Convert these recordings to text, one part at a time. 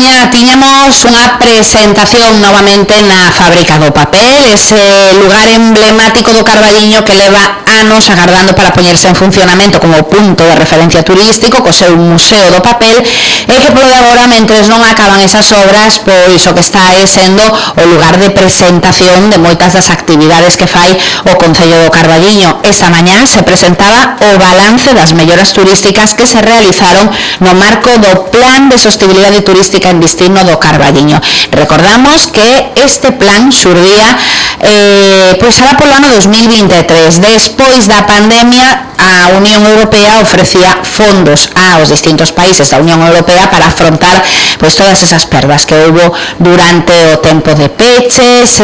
mañá tiñamos unha presentación novamente na Fábrica do Papel, ese lugar emblemático do Carballiño que leva anos agardando para poñerse en funcionamento como punto de referencia turístico co seu Museo do Papel, e que polo de agora, mentres non acaban esas obras, pois o que está é sendo o lugar de presentación de moitas das actividades que fai o Concello do Carballiño. Esta mañá se presentaba o balance das melloras turísticas que se realizaron no marco do Plan de Sostibilidade Turística en Destino do Carballiño. Recordamos que este plan xurdía pois alá polo ano 2023. Despois da pandemia, a Unión Europea ofrecía fondos aos distintos países da Unión Europea para afrontar pois todas esas perdas que houbo durante o tempo de peches,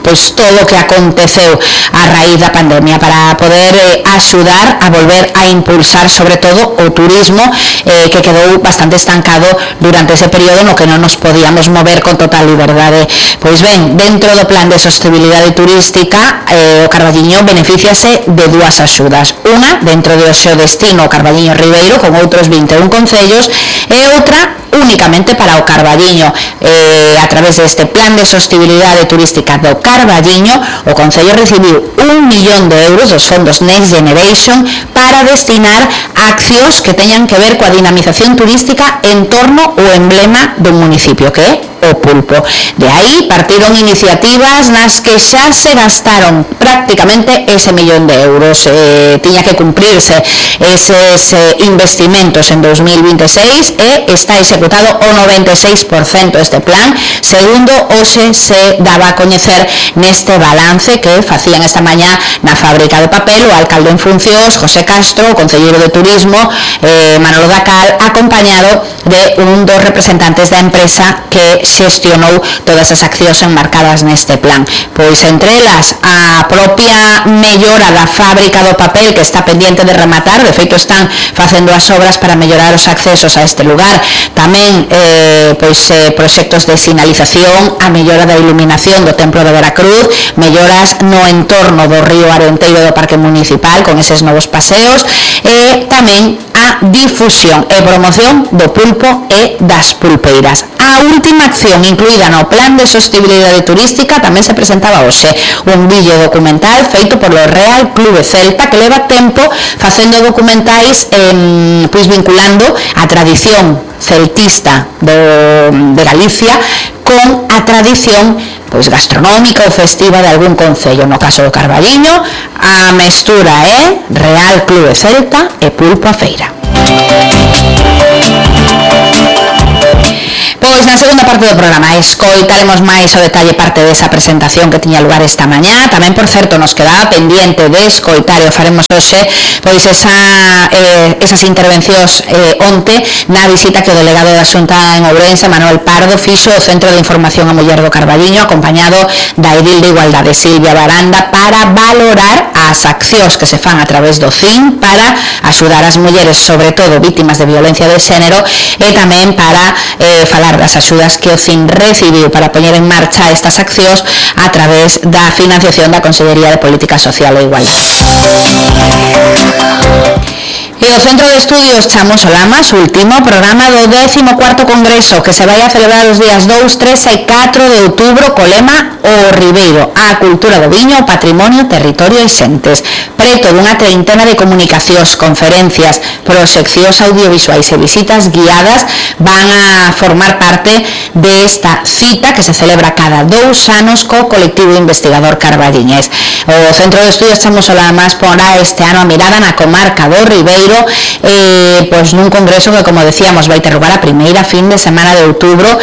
pois todo o que aconteceu a raíz da pandemia, para poder axudar a volver a impulsar sobre todo o turismo que quedou bastante estancado durante ese período no que non nos podíamos mover con total liberdade. Pois ben, dentro do Plan de Sostibilidade Turística, o Carballiño beneficiase de dúas axudas. Unha dentro do seu destino o Carballiño Ribeiro, con outros 21 concellos, e outra únicamente para o Carballiño. A través deste Plan de Sostibilidade Turística do Carballiño, o Concello recibiu 1 millón de euros dos fondos Next Generation para destinar a accións que teñan que ver coa dinamización turística en torno ao emblema do municipio, que é o pulpo. De aí partiron iniciativas nas que xa se gastaron prácticamente ese millón de euros. Tiña que cumprirse eses investimentos en 2026 e está executado o 96% este plan, segundo hoxe se daba a coñecer neste balance que facían esta mañá na Fábrica de Papel o alcalde en funcións, José Castro, o concelleiro de Turismo, Manolo Dacal, acompañado de un dos representantes da empresa que xestionou todas as accións enmarcadas neste plan. Pois entre elas a propia mellora da Fábrica do Papel, que está pendiente de rematar, de feito están facendo as obras para mellorar os accesos a este lugar. Tamén proxectos de sinalización, a mellora da iluminación do Templo de Veracruz, melloras no entorno do río Arenteiro do Parque Municipal con eses novos paseos, e tamén a difusión e promoción do pulpo e das pulpeiras. A última acción incluída no Plan de Sostibilidade Turística tamén se presentaba hoxe, un vídeo documental feito polo Real Clube Celta, que leva tempo facendo documentais pois vinculando a tradición celtista de Galicia con a tradición pois gastronómica ou festiva de algún concello. No caso do Carballiño, a mestura é Real Clube Celta e Pulpo a Feira. Pois na segunda parte do programa escoitaremos máis o detalle parte desa presentación que tiña lugar esta mañá. Tamén, por certo, nos quedaba pendiente de escoitar e o faremos hoxe pois esas intervencións onte na visita que o delegado da Xunta en Ourense, Manuel Pardo, fixo ao Centro de Información a Muller do Carballiño, acompañado da edil de Igualdade, Silvia Baranda, para valorar as accións que se fan a través do CIN para axudar as mulleres, sobre todo vítimas de violencia de xénero, e tamén para falar das axudas que o CIN recibiu para poñer en marcha estas accións a través da financiación da Consellería de Política Social e Igualdade. E o Centro de Estudios Chamos Olamas, último programa do 14º Congreso que se vai a celebrar os días 2, 3 e 4 de outubro co lema O Ribeiro, a cultura do viño, o patrimonio, territorio e xentes. Preto dunha treintena de comunicacións, conferencias, proxeccións audiovisuais e visitas guiadas van a formar parte desta cita que se celebra cada 2 anos co colectivo investigador carballiñés. O Centro de Estudios Chamos Olamas porá este ano a mirada na comarca do Ribeiro, pois nun congreso que, como decíamos, vai ter lugar a primeira fin de semana de outubro,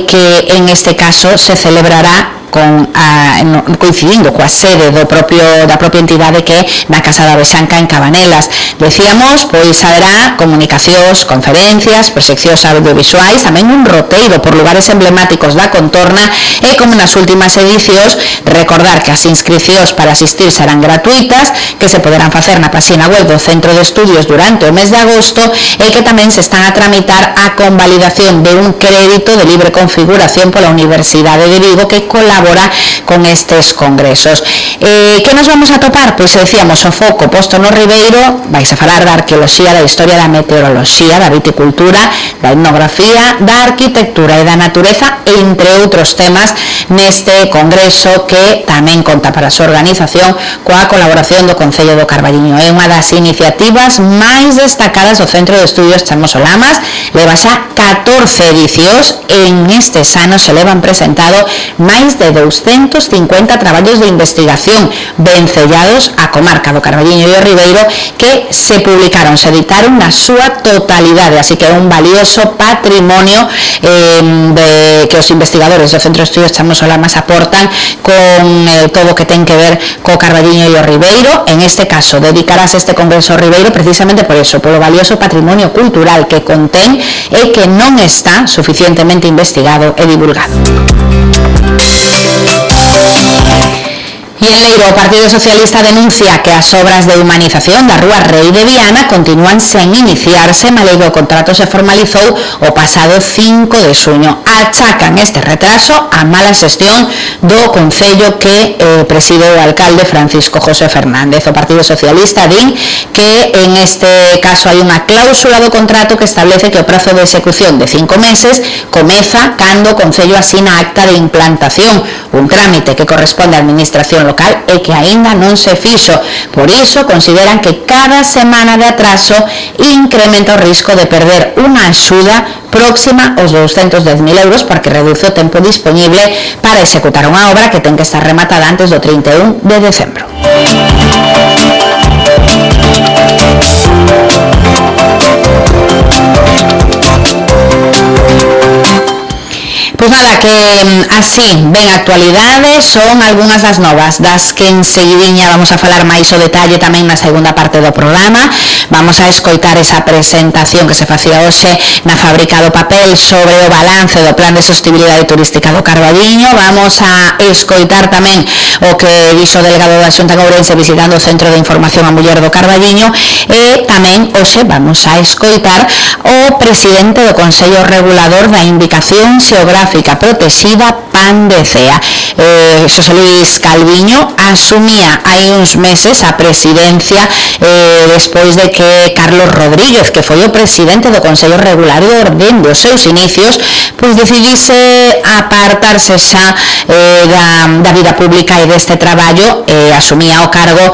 que en este caso se celebrará coincidindo coa sede da propia entidade, que é na Casa da Bexanca en Cabanelas. Decíamos, pois haberá comunicacións, conferencias, proxeccións audiovisuais, tamén un roteiro por lugares emblemáticos da contorna, e como nas últimas edicións, recordar que as inscricións para asistir serán gratuitas, que se poderán facer na página web do Centro de Estudios durante o mes de agosto, e que tamén se están a tramitar a convalidación de un crédito de libre configuración pola Universidade de Vigo, que colabora colabora con estes congresos. Que nos vamos a topar? Pois decíamos, o foco posto no Ribeiro, vais a falar da arqueoloxía, da historia da meteoroloxía, da viticultura, da etnografía, da arquitectura e da natureza, entre outros temas, neste congreso que tamén conta para a súa organización coa colaboración do Concello do Carballiño. É unha das iniciativas máis destacadas do Centro de Estudios Chamos o Lamas, leva xa 14 edicións e en estes anos se levan presentado máis de 250 traballos de investigación vencellados á comarca do Carballiño e o Ribeiro que se publicaron, se editaron na súa totalidade, así que é un valioso patrimonio que os investigadores do Centro de Estudios Chamos o Lamas aportan con todo o que ten que ver co Carballiño e o Ribeiro. En este caso dedicarás este congreso ao Ribeiro precisamente por eso, polo valioso patrimonio cultural que contén e que non está suficientemente investigado e divulgado. E en Leiro, o Partido Socialista denuncia que as obras de humanización da Rúa Rei de Viana continúan sen iniciarse, malia que o contrato se formalizou o pasado 5 de xuño. Achacan este retraso a mala xestión do Concello que preside o alcalde Francisco José Fernández. O Partido Socialista din que en este caso hai unha cláusula do contrato que establece que o prazo de execución de 5 meses comeza cando o Concello asina acta de implantación, un trámite que corresponde á Administración local e que aínda non se fixo. Por iso consideran que cada semana de atraso incrementa o risco de perder unha axuda próxima aos 210.000 euros porque reduce o tempo disponible para executar unha obra que ten que estar rematada antes do 31 de decembro. Pois nada, que así ben actualidade son algunhas das novas das que enseguidiña vamos a falar máis o detalle tamén na segunda parte do programa. Vamos a escoitar esa presentación que se facía hoxe na Fábrica do Papel sobre o balance do Plan de Sostibilidade Turística do Carballiño. Vamos a escoitar tamén o que dixo o delegado da Xunta de Ourense visitando o Centro de Información a Muller do Carballiño e tamén hoxe vamos a escoitar o presidente do Consello Regulador da Indicación Xeográfica Protexida Pan de Cea. Xosé Luis Calviño asumía hai uns meses a presidencia despois de que Carlos Rodríguez, que foi o presidente do Consello Regulador dende os seus inicios, pois decidise apartarse xa da vida pública e deste traballo. Asumía o cargo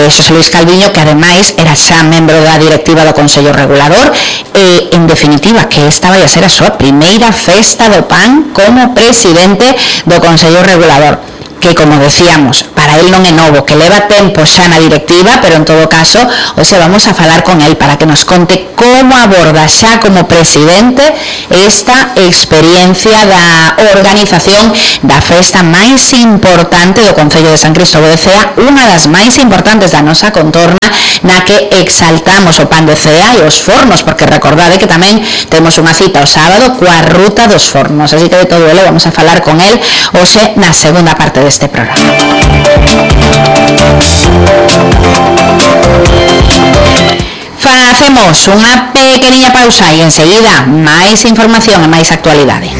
Xosé Luis Calviño, que ademais era xa membro da directiva do Consello Regulador e, en definitiva, que esta vai a ser a súa primeira festa do pan como presidente do Consello Regulador, que, como decíamos, para él non é novo, que leva tempo xa na directiva, pero en todo caso, hoxe vamos a falar con él para que nos conte como aborda xa como presidente esta experiencia da organización da festa máis importante do Concello de San Cristóbal de Cea, unha das máis importantes da nosa contorna, na que exaltamos o pan de Cea e os fornos, porque recordade que tamén temos unha cita o sábado coa ruta dos fornos, así que de todo ello vamos a falar con él hoxe na segunda parte deste programa. Facemos unha pequeniña pausa e enseguida máis información e máis actualidade.